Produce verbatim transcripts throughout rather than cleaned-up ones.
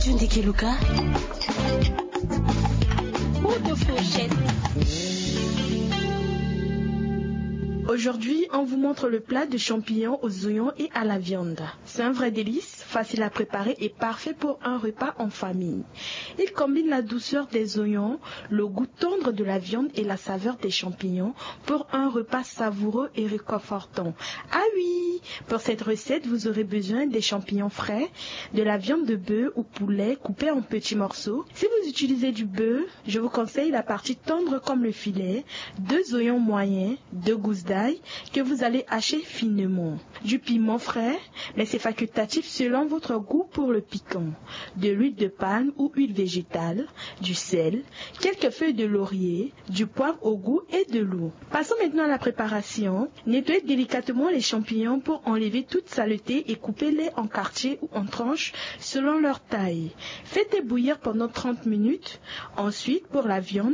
Tunde Keluka. Ou de fourchette. Aujourd'hui, on vous montre le plat de champignons aux oignons et à la viande. C'est un vrai délice, facile à préparer et parfait pour un repas en famille. Il combine la douceur des oignons, le goût tendre de la viande et la saveur des champignons pour un repas savoureux et réconfortant. Ah oui, pour cette recette, vous aurez besoin des champignons frais, de la viande de bœuf ou poulet coupée en petits morceaux. Si vous utilisez du bœuf, je vous conseille la partie tendre comme le filet, deux oignons moyens, deux gousses d'ail que vous allez hacher finement, du piment frais, mais c'est facultatif selon votre goût pour le piquant, de l'huile de palme ou huile végétale, du sel, quelques feuilles de laurier, du poivre au goût et de l'eau. Passons maintenant à la préparation. Nettoyez délicatement les champignons pour enlever toute saleté et coupez-les en quartiers ou en tranches selon leur taille. Faites bouillir pendant trente minutes. Ensuite, pour la viande,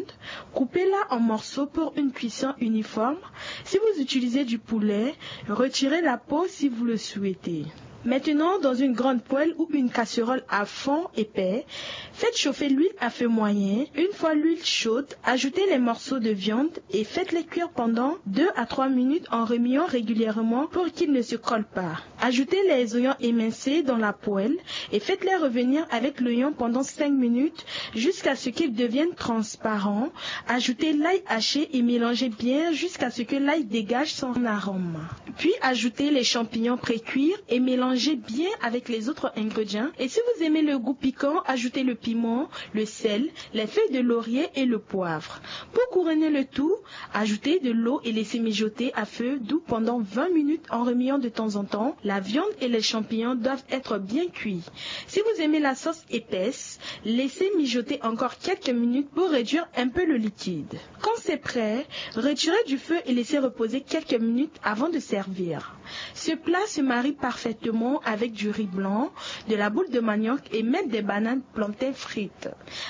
coupez-la en morceaux pour une cuisson uniforme. Si vous utilisez du poulet, retirez la peau si vous le souhaitez. Maintenant, dans une grande poêle ou une casserole à fond épais, faites chauffer l'huile à feu moyen. Une fois l'huile chaude, ajoutez les morceaux de viande et faites-les cuire pendant deux à trois minutes en remuant régulièrement pour qu'ils ne se collent pas. Ajoutez les oignons émincés dans la poêle et faites-les revenir avec l'oignon pendant cinq minutes jusqu'à ce qu'ils deviennent transparents. Ajoutez l'ail haché et mélangez bien jusqu'à ce que l'ail dégage son arôme. Puis ajoutez les champignons pré-cuits et mélangez bien avec les autres ingrédients. Et si vous aimez le goût piquant, ajoutez le piment, le sel, les feuilles de laurier et le poivre. Pour couronner le tout, ajoutez de l'eau et laissez mijoter à feu doux pendant vingt minutes en remuant de temps en temps. La viande et les champignons doivent être bien cuits. Si vous aimez la sauce épaisse, laissez mijoter encore quelques minutes pour réduire un peu le liquide. Quand c'est prêt, retirez du feu et laissez reposer quelques minutes avant de servir. Ce plat se marie parfaitement avec du riz blanc, de la boule de manioc et même des bananes plantain frites.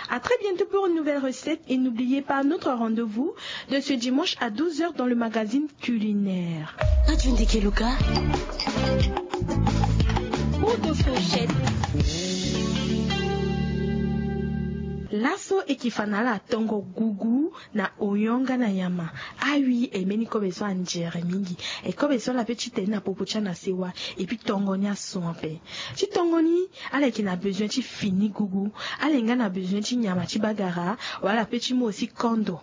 À très bientôt pour une nouvelle recette et n'oubliez pas notre rendez-vous de ce dimanche à douze heures dans le magazine culinaire. Adjunde Keluka. Ou de fourchette. Laso e ke fa na ala tongo gugu na oyon nga na nyama. Awi, e mbeni kobe so anzere mingi. E kobe so ala pe ti tene na popo ti ala na sewa. E pi tongo ni aso ape. Ti tongo ni, ala yeke na bezoin ti fini gugu. Ala yeke nga na bezoin ti nyama ti bagara. Wala ala pe ti mu aussi kondo.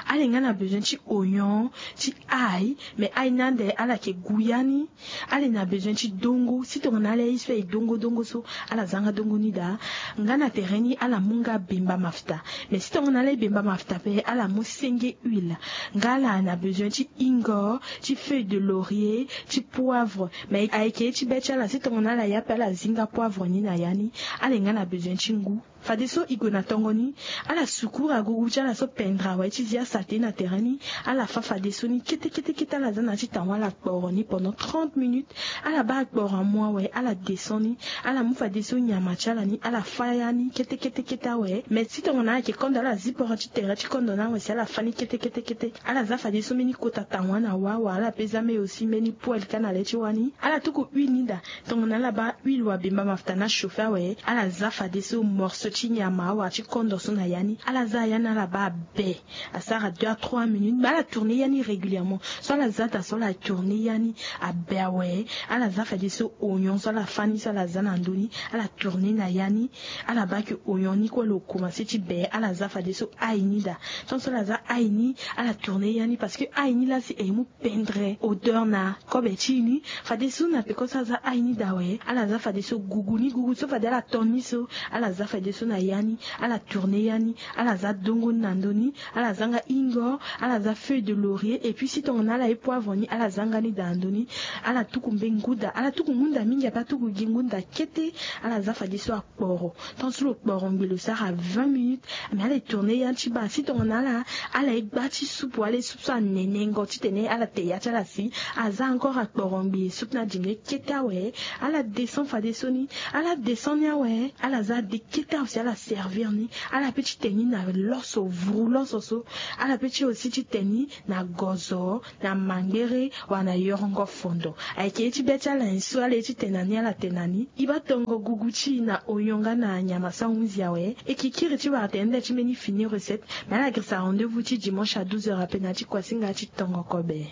Ala yeke nga na bezoin ti oyon, ti ail. Mais ail ni ande ala yeke gu ya ni. Ala yeke na bezoin ti dongo. Si tongana ala ye ye so aye dongo dongo so, ala za nga dongo ni daa. Nga na tere ni ala mu nga bemba mafuta. Mais si tongana ala ye bemba mafuta pe, ala mu senge huile. Nga ala na bezoin ti hingo, ti feuille de laurier, ti poivre. Mais ayeke ye ti be ti ala, si tongana ala ye ape ala zi nga poivre ni na ya ni. Ala yeke nga na bezoin ti ngu. Fadeso e gue na tongo ni, ala sukuru agugu ti ala so pendre awe ti zi asate na tere ni. Ala fa fadeso ni kete kete kete, ala za na ya ti tawa ala kporo ni pendant trente minutes. Ala baa akporo amu awe, ala descend ni. Ala mu fadeso nyama ti ala ni, ala fa ya ni kete kete kete awe. Mais si tongana ala yeke kondo, ala zi poro ti tere ti kondo ni awe si ala fa ni kete kete kete. Ala za fadeso mbeni kota tawa na wa awe, ala pe za mbeni aussi mbeni poêle kâ na le ti wa ni. Ala tuku huile ni daa. Tongana ala baa huile wala bemba mafuta ni achauffer awe, ala za fadeso morceau ti nyama wala ti kondo so na ya ni. Ala za ya ni, ala baa be. Asara deux à trois minutes, mais ala tourner ya ni régulièrement. So ala za daa so ala tourner ya ni abe awe. Ala za fadeso oyon so ala fa ni so ala za na ndö ni, ala tourner na ya ni. Ala baa ke oyon ni kue lo commencer ti be, ala za fadeso ail ni daa. Tant so ala za ail ni, ala tourner ya ni parce que ail ni laa si e mu pendre odeur na kobe ti e ni. Fadeso na peko so aza ail ni daa awe, ala za fadeso gugu ni, gugu so fade ala ton ni so, ala za fadeso na ya ni, ala tourner ya ni, ala za dongo ni na ndö ni, ala za nga hingo, ala za feuille de laurier, et puis si tongana ala ye poivre ni, ala za nga ni daa na ndö ni. Ala tuku mbeni ngu daa, ala tuku ngu daa mingi ape, ala tuku gi ngu daa kete. Ala za fadeso akporo. Tant so lo kporo ngbii lo sara vingt minutes. Mais ala ye tourner ya ni ti baa. Si tongana ala, ala ye gba ti soupe, ala ye soupe so anene ngo titene ala te ya ti ala si, aza encore akporo ngbii soupe ni adingbi kete awe. Ala descend fadeso ni, ala descend ni awe. Ala za ade kete awe. ti ala servir ni. Ala pe ti tene ni na loso vuru loso so. Ala pe ti aussi ti tene ni na gozo, na mangbere, wala na yorongo fondo. Ayeke ye ti be ti ala nyen so ala ye ti tene na ni, ala tene na ni. E baa tongo gugu ti e na oyon nga na nyama so ahunzi awe. E ke kiri ti wara tene nda ti mbeni fini recette. Me ala girisa rendez-vous ti dimanche à douze heures ape na ya ti kuasinga ti tongo kobe.